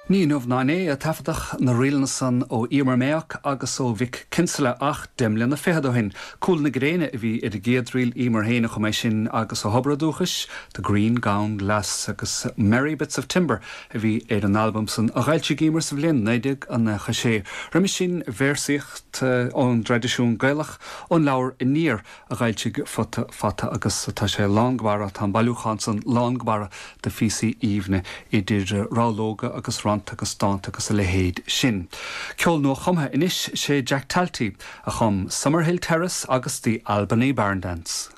Ní inniu ná inné a taifeadadh na ríleanna san ó Emer Mayock agus ó Mhick Kinsella ach deich mbliana fichead ó shin. Cúl na Gréine a bhí ar an gcéad ríl, Emer féin a chum é sin agus ó thobar a dúchais, The Green Gowned Lass agus Merry Bits of Timber a bhí ar an albam san a dh'fhoilsigh Emer sa bhliain 1996. Roimis sin véarsaíocht ón dtraidisiún Gaelach ón leabhar Aniar a dh'fhoilsigh Futa Fata agus tá sé lán go barra, tá an bailiúchán san lán go barra de phíosaí aoibhne, idir rabhlóga agus rannta agus dánta agus a leithéid sin. Ceol nua-chumtha anois, sé Jack Talty a chum Summerhill Terrace agus The Albany Barn Dance.